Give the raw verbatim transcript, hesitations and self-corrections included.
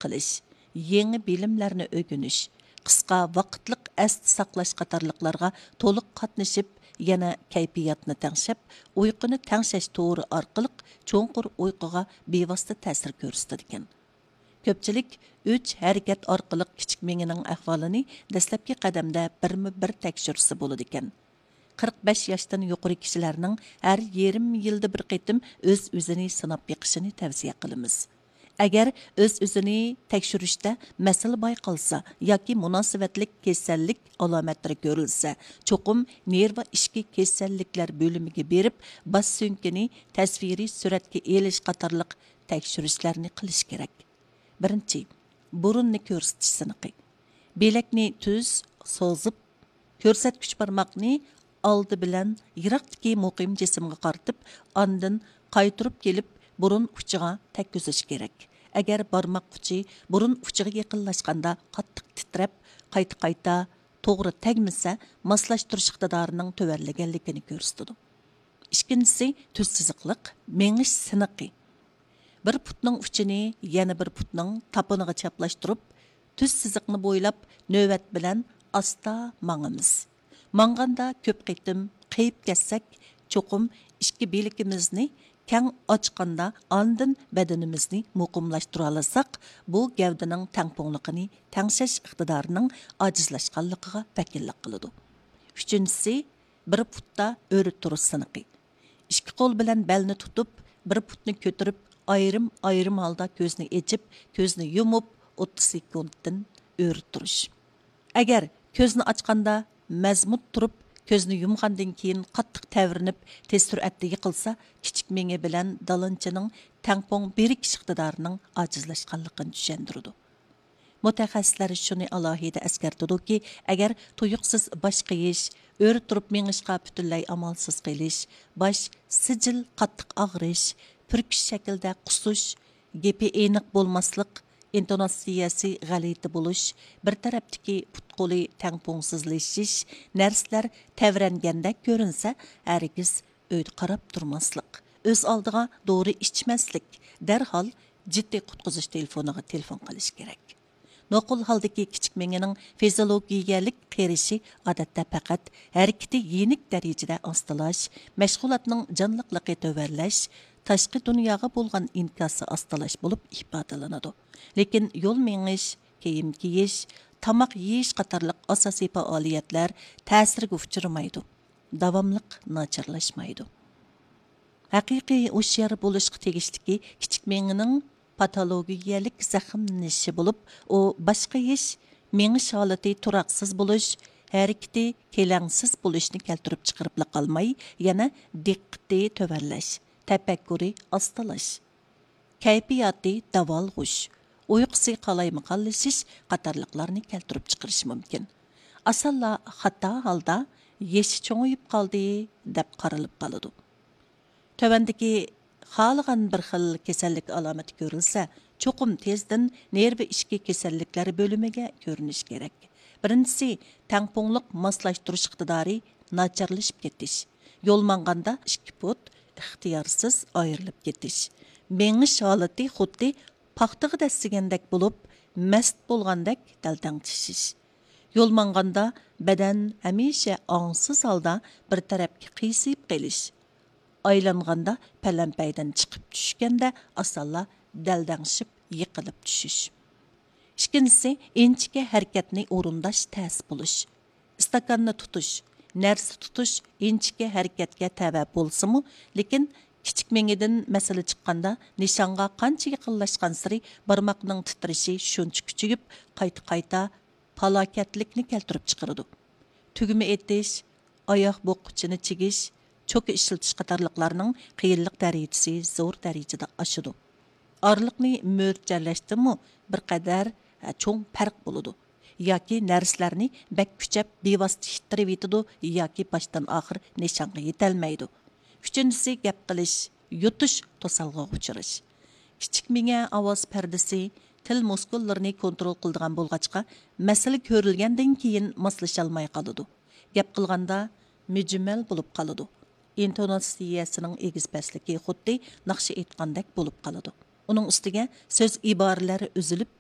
قىلىش، يېڭى بىلىملەرنى ئۆگىنىش، قىسقا ۋاقىتلىق ئەستە ساقلاش قاتارلىقلارغا تولۇق قاتنىشىپ، يەنە كەيپىياتنى تەڭشەپ، ئۇيقۇنى تەڭشەش تورى ئارقىلىق چوڭقۇر ئۇيقۇغا بىۋاسىتە تەسىر كۆرسىتىدىكەن. كۆپچىلىك ئۈچ ھەرىكەت ئارقىلىق كىچىك مېڭىنىڭ ئەھۋالىنى دەسلەپكى قەدەمدە بىرمۇ بىر تەكشۈرسە بولىدىكەن. قىرىق بەش ياشتىن يۇقىرى كىشىلەرنىڭ ھەر يېرىم يىلدا بىر قېتىم ئۆز-ئۆزىنى سىناپ بېقىشىنى تەۋسىيە قىلىمىز. ئەگەر ئۆز-ئۆزىنى تەكشۈرۈشتە مەسىلە بايقالسا ياكى مۇناسىۋەتلىك كېسەللىك ئالامەتلىرى كۆرۈلسە، چوقۇم نېرۋا ئىچكى كېسەللىكلەر بۆلۈمىگە بېرىپ، باش سۆڭىكىنى تەسۋىرىي سۈرەتكە ئېلىش قاتارلىق تەكشۈرۈشلەرنى قىلىش كېرەك. بىرىنچى، بۇرۇننى كۆرسىتىش سىنىقى. بىلەكنى تۈز سوزۇپ، كۆرسەتكۈچ بارماقنى ئالدى بىلەن يىراقتىكى مۇقىم جىسىمغا قارىتىپ، ئاندىن قايتۇرۇپ كېلىپ، بۇرۇن ئۇچىغا تەگكۈزۈش كېرەك. ئەگەر بارماق ئۇچى بۇرۇن ئۇچىغا يېقىنلاشقاندا قاتتىق تىترەپ، قايتا-قايتا توغرا تەگمىسە، ماسلاشتۇرۇش ئىقتىدارىنىڭ تۆۋەنلىگەنلىكىنى كۆرسىتىدۇ. ئىككىنچىسى، تۈز سىزىقلىق مېڭىش سىنىقى. بىر پۇتنىڭ ئۇچىنى يەنە بىر پۇتنىڭ تاپىنىغا چاپلاشتۇرۇپ، تۈز سىزىقنى بويلاپ نۆۋەت بىلەن ئاستا ماڭىمىز. ماڭغاندا كۆپ قېتىم قېيىپ كەتسەك، چوقۇم ئىككى بىلىكىمىزنى كەڭ ئاچقاندا ئاندىن بەدىنىمىزنى مۇقىملاشتۇرالىساق، بۇ گەۋدىنىڭ تەڭپۇڭلۇقىنى تەڭشەش ئىقتىدارىنىڭ ئاجىزلاشقانلىقىغا ۋەكىللىك قىلىدۇ. ئۈچىنچىسى، بىر پۇتتا ئۆرە تۇرۇش سىنىقى. ئىككى قول بىلەن بەلنى تۇتۇپ، بىر پۇتنى كۆتۈرۈپ، ئايرىم-ئايرىم ھالدا كۆزنى ئېچىپ، كۆزنى يۇمۇپ، ئوتتۇز سېكۇنتتىن ئۆرە تۇرۇش. ئەگەر كۆزنى ئاچقاندا مەزمۇت تۇرۇپ، كۆزنى يۇمغاندىن كېيىن قاتتىق تەۋرىنىپ، تېز سۈرئەتتە يىقىلسا، كىچىك مېڭە بىلەن دالانچىنىڭ تەڭپۇڭ بىرىكىش ئىقتىدارىنىڭ ئاجىزلاشقانلىقىنى چۈشەندۈرىدۇ. مۇتەخەسسىسلەر شۇنى ئالاھىدە ئەسكەرتىدۇكى، ئەگەر تۇيۇقسىز باش قېيىش، ئۆرە تۇرۇپ مېڭىشقا پۈتۈنلەي ئامالسىز قېلىش، باش سىجىل قاتتىق ئاغرىش، پۈركۈش شەكلىدە قۇسۇش، گېپى ئېنىق بولماسلىق، ئىنتوناتسىيەسى غەلىتە بولۇش، بىر تەرەپتىكى پۇت-قولى تەڭپۇڭسىزلىشىش، نەرسىلەر تەۋرەنگەندەك كۆرۈنسە، ھەرگىز ئۆيدە قاراپ تۇرماسلىق، ئۆز ئالدىغا دورا ئىچمەسلىك، دەرھال جىددىي قۇتقۇزۇش تېلېفونىغا تېلېفون قىلىش كېرەك. نوقۇل ھالدىكى كىچىك مېڭىنىڭ فىزىيولوگىيەلىك قېرىشى ئادەتتە پەقەت ھەرىكىتى يېنىك دەرىجىدە ئاستىلاش، مەشغۇلاتنىڭ جانلىقلىقى تۆۋەنلەش، تاشقى دۇنياغا بولغان ئىنكاسى ئاستىلاش بولۇپ ئىپادىلىنىدۇ. لېكىن يول مېڭىش، كىيىم كىيىش، تاماق يېيىش قاتارلىق ئاساسىي پائالىيەتلەر تەسىرگە ئۇچرىمايدۇ، داۋاملىق ناچارلاشمايدۇ. ھەقىقىي ھوشيار بولۇشقا تېگىشلىكى كىچىك مېڭىنىڭ پاتولوگىيەلىك زەخىملىنىشى بولۇپ، ئۇ باش قېيىش، مېڭىش ھالىتى تۇراقسىز بولۇش، ھەرىكىتى كېلەڭسىز بولۇشنى كەلتۈرۈپ چىقىرىپلا قالماي، يەنە دىققىتى تۆۋەنلەش، تەپەككۇرى ئاستىلاش، كەيپىياتى داۋالغۇش، ئۇيقۇسى قالايمىقانلىشىش قاتارلىقلارنى كەلتۈرۈپ چىقىرىشى مۇمكىن. ئاسانلا خاتا ھالدا «يېشى چوڭىيىپ قالدى» دەپ قارىلىپ قالىدۇ. تۆۋەندىكى خالىغان بىر خىل كېسەللىك ئالامىتى كۆرۈلسە، چوقۇم تېزدىن نېرۋا ئىچكى كېسەللىكلەر بۆلۈمىگە كۆرۈنۈش كېرەك. بىرىنچىسى، تەڭپۇڭلۇق ماسلاشتۇرۇش ئىقتىدارى ناچارلىشىپ كېتىش. يول ماڭغاندا ئىككى پۇت ئىختىيارسىز ئايرىلىپ كېتىش. مېڭىش ھالىتى خۇددى پاختىغا دەسسىگەندەك بولۇپ، مەست بولغاندەك دەلدەڭ چىشىش. يول ماڭغاندا بەدەن ھەمىشە ئاڭسىز ھالدا بىر تەرەپكە قىيسىيىپ قېلىش. ئايلانغاندا پەلەمپەيدىن چىقىپ چۈشكەندە ئاسانلا دەلدەڭشىپ يىقىلىپ چۈشۈش. ئىككىنچىسى، ئىنچىكە ھەرىكەتنى ئورۇنداش تەس بولۇش. ئىستاكاننى تۇتۇش، نەرسە تۇتۇش ئىنچىكە ھەرىكەتكە تەۋە بولسىمۇ، لېكىن كىچىك مېڭىدىن مەسىلە چىققاندا، نىشانغا قانچە يېقىنلاشقانسېرى بارماقنىڭ تىترىشى شۇنچە كۈچىيىپ، قايتا-قايتا پالاكەتلىكنى كەلتۈرۈپ چىقىرىدۇ. تۈگمە ئېتىش، ئاياغ بوغقۇچىنى چىگىش، چوكا ئىشلىتىش قاتارلىقلارنىڭ قىيىنلىق دەرىجىسى زور دەرىجىدە ئاشىدۇ. ئارىلىقنى مۆلچەرلەشتىمۇ بىر قەدەر، ھە، چوڭ پەرق بولىدۇ. ياكى نەرسىلەرنى بەك كۈچەپ، بىۋاسىتە ئىتتىرىۋېتىدۇ ياكى باشتىن ئاخىر نىشانغا يېتەلمەيدۇ. ئۈچىنچىسى، گەپ قىلىش، يۇتۇش توسالغۇغا ئۇچراش. كىچىك مېڭە ئاۋاز پەردىسى، تىل مۇسكۇللىرىنى كونترول قىلىدىغان بولغاچقا، مەسىلە كۆرۈلگەندىن كېيىن ماسلىشالماي قالىدۇ. گەپ قىلغاندا مۈجمەل بولۇپ قالىدۇ. ئىنتوناتسىيەسىنىڭ ئېگىز-پەسلىكى خۇددى ناخشا ئېيتقاندەك بولۇپ قالىدۇ. ئۇنىڭ ئۈستىگە سۆز ئىبارىلەر ئۈزۈلۈپ،